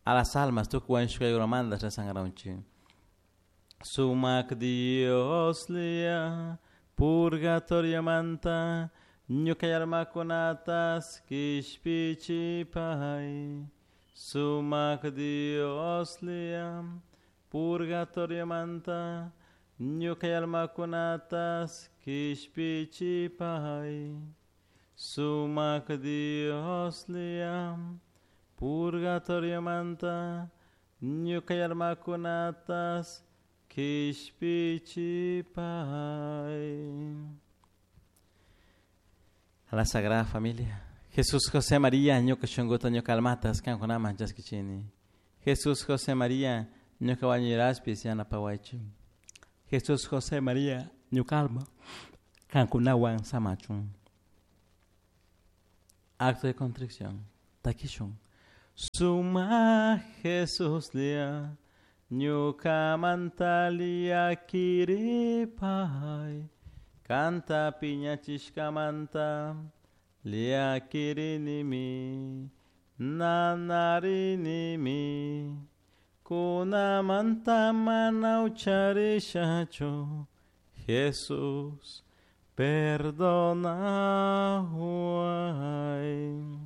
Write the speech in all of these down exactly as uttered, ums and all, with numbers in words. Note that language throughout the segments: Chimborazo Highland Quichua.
A las almas tukuy wañushkaykunamanta resankaranchik. Sumak Dioslla purgatoriomanta ñuka almakunatas kishpichipay. Sumak Dioslla purgatoriomanta ñuka almakunatas kishpichipay. Sumak Dioslla purgatoriomanta ñuka almakunatas kishpichipay. A la Sagrada Familia. Jesús, José, María, ñuka shunkuta ñuka almatas kankunaman chaskichini. Jesús, José, María, ñuka wañuraspis yanapawaychik. Jesús, José, María, ñuka alma kankunawan samachun. Acto de contrición. Takishun. Suma Jesuslla ñukamanta llakiripay. Kanta piñachishkamanta llakirinimi nanarinimi kunamanta mana ucharishachu. Jesús, perdonaway.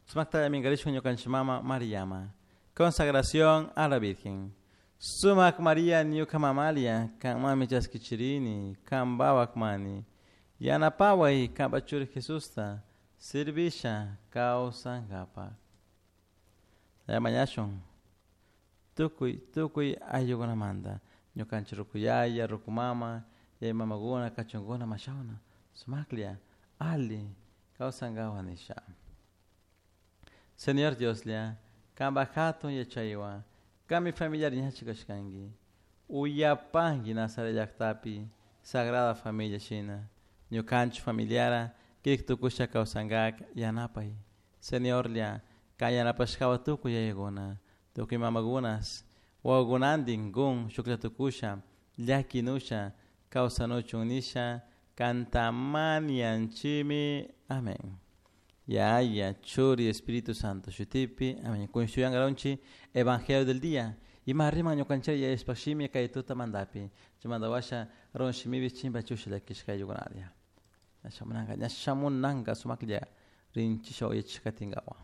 Sumakta minkarishun ñukanchik mama Mariama. Consagración a la Virgen. Sumak María ñuka mamalia, kanmami chaskichirini, kanpawak mani. Yanapaway kanpa churi Jesusta, servisha kawsankapak. Mañashun tukuy tukuy ayllukunamanta ñukanchik rukuyaya, rukumama, yaya mamakuna, kachunkuna, mashawna, sumaklla, ali kawsankapak nisha. Señor Dioslla, kanpak hatun yachaywan, kanmi familiar ñachik kashkanki. Uyapanki Nazaret llaktapi, Sagrada Familia shina, ñukanchik familiara, kirik tukusha kawsankak yanapay. Señorlla, kan yanapashkawa tukuy yayakuna, tukuy mamakunas, wawakunantin kun shuklla tukusha, llakinusha, kawsanuchun nisha, kanta mañanchimi. Amén. Yaya, Churi, Espíritu Santo, shutipi. Amén. Kunshuyangaronchi, Evangelio del día. Ima riman ñukanchik yayashpashimi kay tuta mandapi. Chimandawasha ronshimibi chimpa chusha llakishkayukunaria. Ñashamunanka, ñashamunanka sumaklla rinchisha oyachishkatinkawa.